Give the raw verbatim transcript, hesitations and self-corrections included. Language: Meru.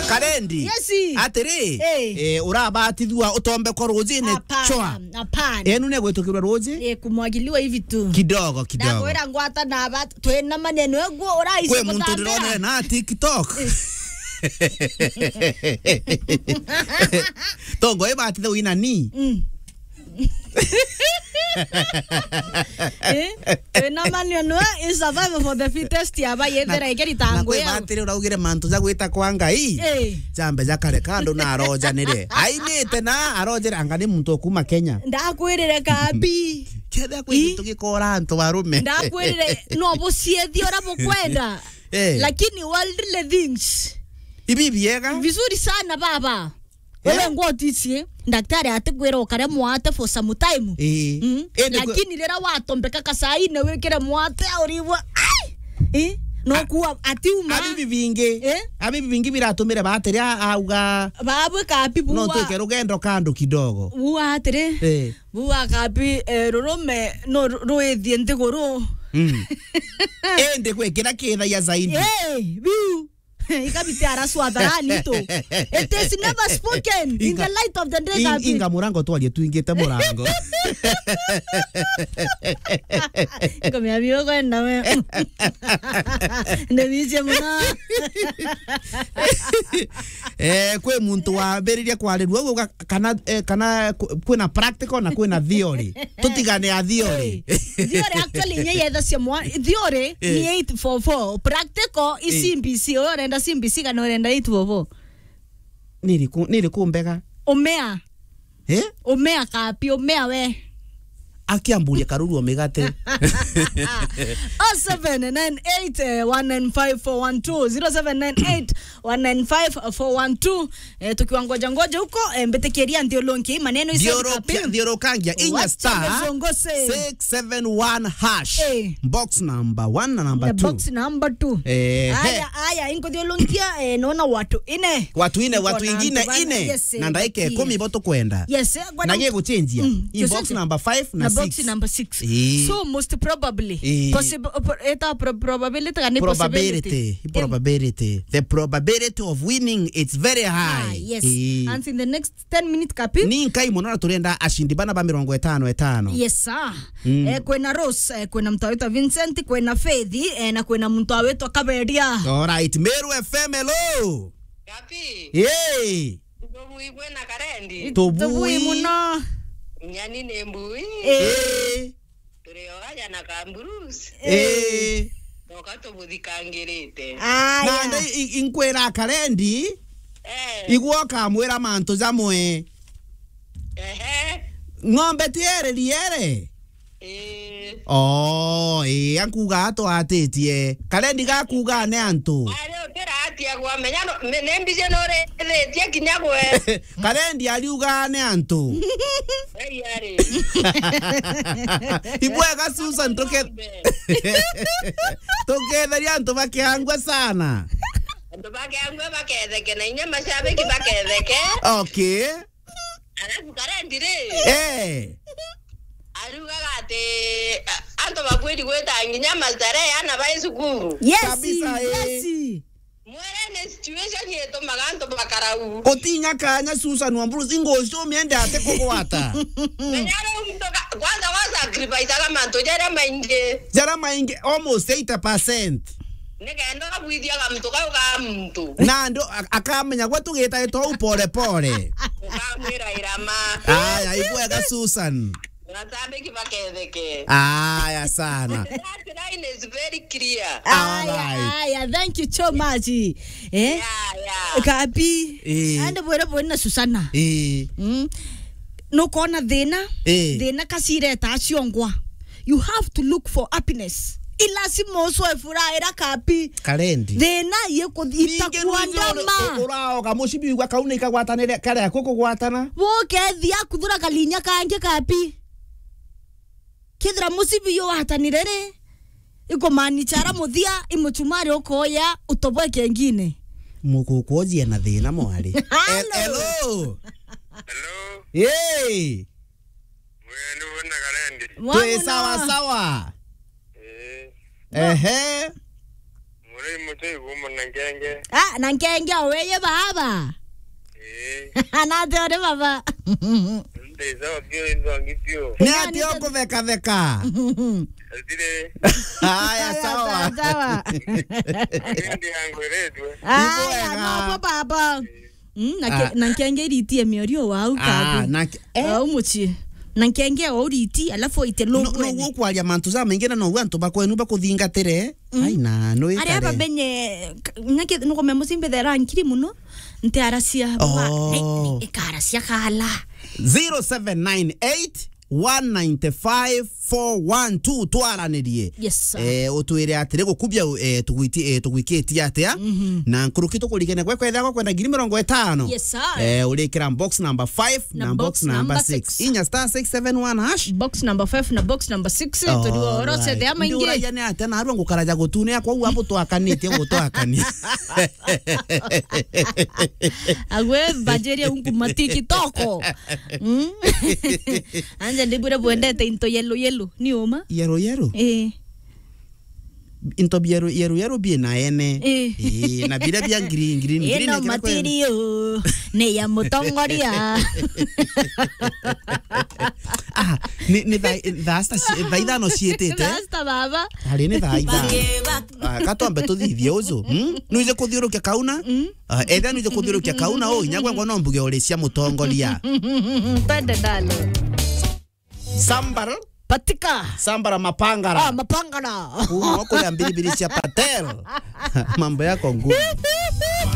Karendi. Yes. Atiri, eh, urabatithua utombekwa rujine chwa. Hapana, hapana. Enu ni gwitukirwa ruji? Eh, kumwagiliwa hivi tu. Kidogo, kidogo. Ndakwira ngwata na bat-, twina maneno eguo uraisi. Kwi muntu kutambira. Ndironere na TikTok. Tongo ibatithe wina ni. Mm. Eh? Wina manio nwe is survival for the fittest yaba yethera ikeri tango yao. Na kwi batiri uraugire mantu ja gwita kwa Ngai. Eh. Jambe ja kare kandu na arojanire. Ainite na arojere anga ni muntu okuma Kenya. Ndakwirire kabi. Kethia kwi gintu gikora antu arume. Ndakwirire no buciethia ura bukwenda. Eh. Lakini worldly things. Ibi biega. Vizuri sana baba. Wewe ngwotisi, daktari atikwira ukare mwate for some time. Ii. Mm. Indi kwe- Lakini rira watombeka kasaine wikire mwate uribwa, ai! Eh? No kuwa atiuma. Abibi bingi. Eh? Abibi bingi biratumire batiri a-, auga. Babwe kapi no buwa. Twike rugendo kandu kidogo. Buwa atiri. Eh. Buwa kapi, eh, rurume no ru-, ruithie nthiguru. Mm. Indi gwe kira kithagia zaidi. Eh, biu. Ikabiti araswa hadharani tu. It is never spoken in the light of the day. Inga, inga murango twarie twingite murango. Komea bio kwenda we. Ndebicie muno. Eh, kwi muntu wambiririe kwarirua uga kana, eh, kana ku-, kwina practical na kwina theory. Tutigane a theory. Eh, theory actually inya yethacia mwa-, theory ni eight four four. Practical i C B C. Uyu urenda C B C kana urenda eight four four? Niriku, niriku mbega? Umea. Eh? Umea kapi, umea we. Akiamburia karuru o migate. Oh seven nine eight one nine five four one two, zero seven nine eight one nine five four one two. Eh, tukiwa ngoja ngoja huko, eh, mbitikiria nthiurunki maneno icio. Thiurukia, thiurukangia inya star six seven one hash. Eh. Box number one na number two. Box number two. Eh, aya, aya, inkuthiurunkia, eh, nona watu ine. Watu ine, watu ingine ine. Yes, eh, na ndaika ikumi bo tukwenda. Yes, eh, na giguchenjia. Mm, inbox number five na box number six. Eh. So most probably. Eh. Possib-, pro-, eta pro-, probability kana possibility. Probability. Eh. Probability. The probability of winning, it's very high. Ah, yes. Eh. And in the next ten minutes kapi. Ni nkai muno na turenda ashindi bana ba mirongo itano itano. Yes, sir. Mm. Eh, kwina Rose, eh, kwina mtu witwa Vincent, kwina Faith, eh, na kwina mtu witwa Kaberia. All right, Meru F M, hello. Kapi. Hey. Tubui bwena Karendi. Tubui. Tubui muno. Nyani ni mbui. Eh. Eh. Turi o aja na kamburusi. Eh. Noka tubuthikangirite. Aya. Na nda i-, i-, inkwira Karendi. Eh. Igwo kamwira mantu jamwe. Ehe. Ng'ombe ti eri riere? Eh. Oh, eh, ankuga atwatitie. Karendi gakuga ne antu. Ari utira atia gwamenya no, me-, ne mbije no rithitie kinya gwe. Karendi ariuga ne antu. Ei, ari. Ibwega Susan, tuke-, tuketheria antu bakiangwa sana. Antu bakiangwa baketheke na inya mashabiki baketheke. Okay. Alafu Karendi ri. Eh. Ariugaga ati, a-, antu babwiri gwita nginya mastarehe ana bai cukuru. Yes, kabisa, eh. Yes. Mwere ni situation itumaga antu bakarau. Utinya kanya Susan Wamburu, ingo ucio miende ate kugwata. Menya riu muntu ka-, kwanza wa sacrifice aga mantu jaria maingi. Jaria maingi, almost eighty percent. Nikenda ubwithia ga muntu kau ga muntu. Na andu a-, akamenya gwe tugitaitwa u pole pole. Ukamwira irama. Aya, ibwega Susan. Mashabiki baketheke. Aya sana. That line is very clear. Aya, alright. Aya, thank you so much. Eh? Yeah, yeah. Kapi. Eh. Ande bwere bwere na Susana. Eh. Mm. Nukona thina. Eh. Thina kacireta aciongwa. You have to look for happiness. Ilazima ucoe furaha ira kapi. Karendi. Thina yikuthita. Ningĩ rwĩmbo kuandama. Ru-, uraoga mucibi wigua kau ni ikagwatanire karia kukugwatana. Wokethia kuthura kalinya kangi kapi. Kethira mucibi yu watanire ri, ikumaanisha ara muthia i muchumari ukoya utoboe kengine. Mukukwojia na thina mwari. Hello. Hello. Hello. Hey. Mwenu na Karendi. Twi sawa sawa. Eh. Ehe. Muri Ri mutu igumu na nkenge. Ah, na nkenge o weye baba. Eh. Anate ore baba. Ndeza wakio inzongi pio. Ni ati okuveka theka. Atire. Haya, sawa. Sawa. Ndi yangu eretwe. Aya, wega. No bo baba. Mm, na ke-, ah, na nkenge iritie miorio wau. Ah, kabi. Na ke-, eh? Wau mucii. Na nkenge o uriti, alafu oite. No, lugwene. No gukwaria mantu ja maingi na no antu bakwenu bakuthingatire. Mm. Ai, na no ikare. Aria bamenye, k-, nyake nuko me mucimbe thera nkiri muno. Nte aracia. Oh. Bwa, ne, ne, ikaracia kala. Zero seven nine eight one nine five four one two, twaranirie. Yes, sir. Eh, utwire atiri gukubia, eh, tugwiti-, eh, tugwikitie atia? Mhm. Na nkuruki tukurigene gwe kwethagwa kwenda ngiri mirongo itano. Yes, sir. Eh, urikira box number five na box number six. Inya star six seven one hash. Box number five na box number six, turi oro. Alright. Cethe amaingi. Nduragia ni atia narua ngukaraja gutune akwa u abu twakanitie gutwakania. Agwe mbanjiria unku matiki toko. Mm. Anja ndibwire bwendete into yellow yellow, ni uma? Yellow yellow? Eh. Into bieru, yeru, yeru bie na ene. Eh. Eh, na bira bia green, green, green. Ino material ni ya mutongoria. Ah, ni, ni thaa, thaa sita ci-, thaa ithano ciitite. Rasta baba. Ari ni thaa ithano. Ah, katwambe tuthithie uju. Hmm? Nuije kuthiurukia kauna? Mm. Ah, etha nuije kuthiurukia kauna, o inya gwengwa no mbuge uri cia mutongoria. Twende ndalo. Sambar. Patika. Sambara mapangara. Ah, mapangara. Kuma kule mbiribiri cia Patel. Mambo yako ngumu.